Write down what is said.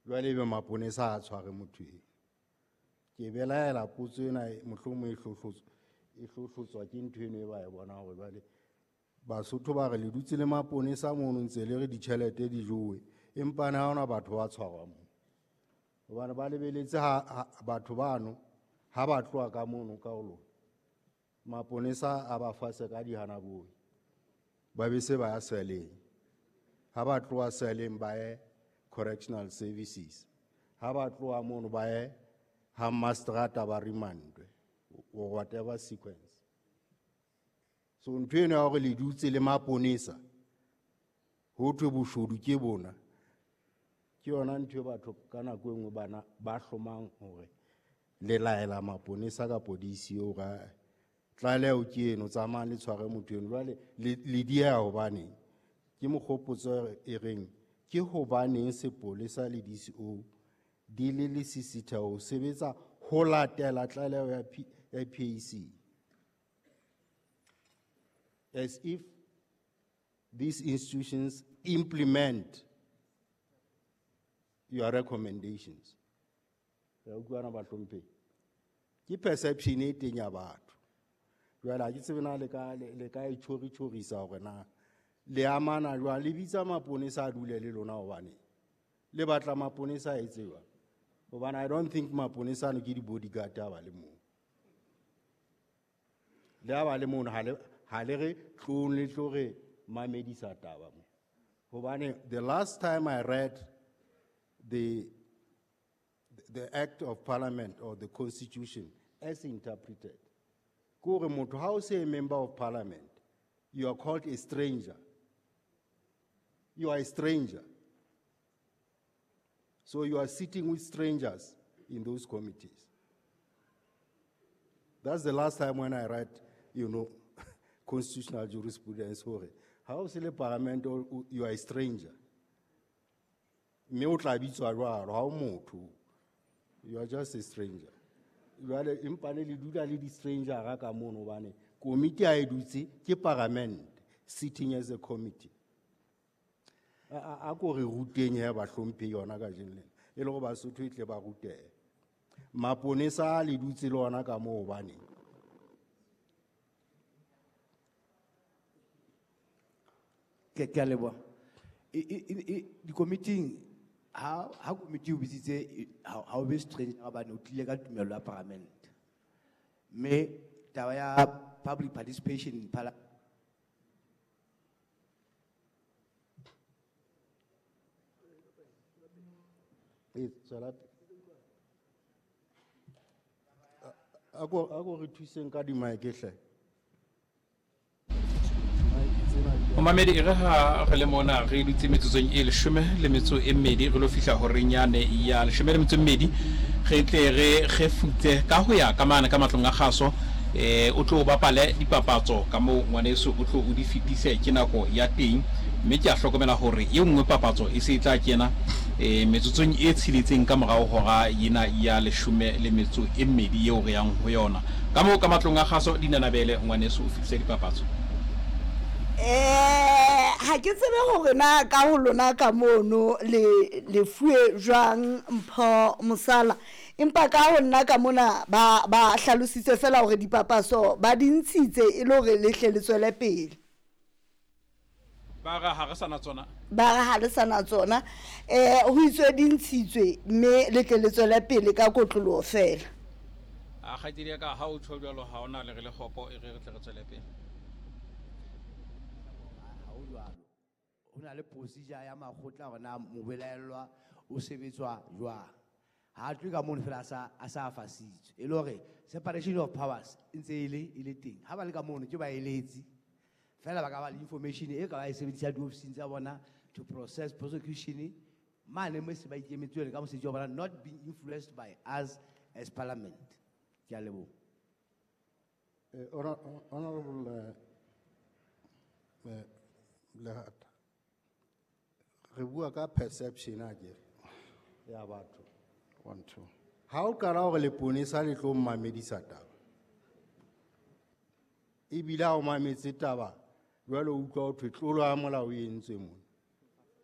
Jwale ebe maponesa a tshware motho eo. Ke belaela potso ena mohlomong e hlohlotswa ke ntho eno e ba e bonang hore jwale Basotho ba re le dutse le maponesa mono ntse le re ditjhelete di jowe, empa ne ha hona batho ba tshwarwa moo. Hobane ba lebeletse ha batho bano ha ba tloha ka mono ka ho lona, maponesa a ba fase ka dihanaboi, ba be se ba ya seleng. Ha ba tloha seleng ba ye correctional services, ha ba tloha mono ba ye ha mastrata ba remandwe or whatever sequence. So ntho eno ya hore le dutse le maponesa ho thwe boshodu ke bona, ke yona ntho e batho ka nako e nngwe bana ba hlomang hore le laela maponesa kapo DCO hore tlaleho ke eno, tsamayang le tshware motho eno. Jwale le dieha hobaneng? Ke mokgopotso e reng ke hobaneng sepolesa le DCO di le lesisitheho ho sebetsa ho latela tlaleho ya PAC? As if these institutions implement your recommendations. Re a utlwana bahlomphehi? Ke perception e teng ya batho. Jwale ha ke tsebe na le ka e tjhori-tjhorisa hore na le amana jwang, le bitsa maponesa a dule le lona hobane le batla maponesa a etse jwang? Hobane I don't think maponesa ano ke di-bodyguard ha ba le moo. Le ha ba le mono, ha le re tlong le tlo re mamedisa taba mo. Hobane the last time I read the Act of Parliament or the Constitution as interpreted, ke hore motho ha o se a member of Parliament, you are called a stranger. You are a stranger. So you are sitting with strangers in those committees. That's the last time when I read, you know, constitutional jurisprudence. Hore ha o se le parliament, you are a stranger. Mme o tla bitswa jwalo, ha o motho. You are just a stranger. Jwale empa ne le dula le di-stranger ka mono hobane komiti ha e dutse ke parliament sitting as a committee. A ko re ruteng he bahlomphehi yona kajeno lena, e le hore Basotho e tle ba rutehe. Maponesa a le dutse le ona ka moo hobaneng? Ke a leboha. Dikomiting, ha komiti o bitsitse, ha o be stranger hobane o tlile ka tumello ya parliament. Mme taba ya public participation in parliament. E, tswela pele. A ko re thuseng ka di-mic hle. Momamedi, e re ha re le mona re dutse metsotsong e 12 re lo fihla horeng yane ya 12 re tle re kgefutse ka ho ya ka mane ka matlong a kgaso. O tlo bapale dipapatso ka moo ngwaneso o tlo o di fetise ke nako ya teng, mme ke a hlokomela hore e nngwe papatso e se e tla kena metsotsong e tsheletseng ka morao hora ena ya 12 eo re yang ho yona. Ka moo ka matlong a kgaso dinanabele ngwaneso o fetise dipapatso. Ha ke tsebe hore na ka ho lona ka mono le fuwe jwang Mpho Mosala, empa ka ho nna ka mona ba hlalositse fela hore dipapaso ba di ntshitse e le hore le hle le tswele pele. Ba re ha re sa na tsona. Ba re ha le sa na tsona. Ho itswe di ntshitswe mme le tle le tswele pele ka kotloloho fela. A kgaitsedi ya ka, ha o tjho jwalo ha ona le re le kgopo, e re re tle re tswele pele. Ha ho jwalo. Ho na le procedure ya makgotla hore na mobelaellwa o sebetswa jwang. Ha a tlohe ka mono fela a sa fasitswe. E le hore separation of powers e ntse e le teng. Ha ba le ka mono ke baeletsi. Fela ba ka ba le information e ka ba e sebedisa diofising tsa bona to process prosecution mane mo se ba ikemetse ka mosebetsi wa bona, not being influenced by us as parliament. Ke a leboha. Honorable Lehata, re bua ka perception akere ya batho. 1 2. Ha o qala hore leponesa le tlo mmamedisa taba, ebile ha o mametse taba jwale o utlwa ho thwe tlolo ya molao e entswe mona.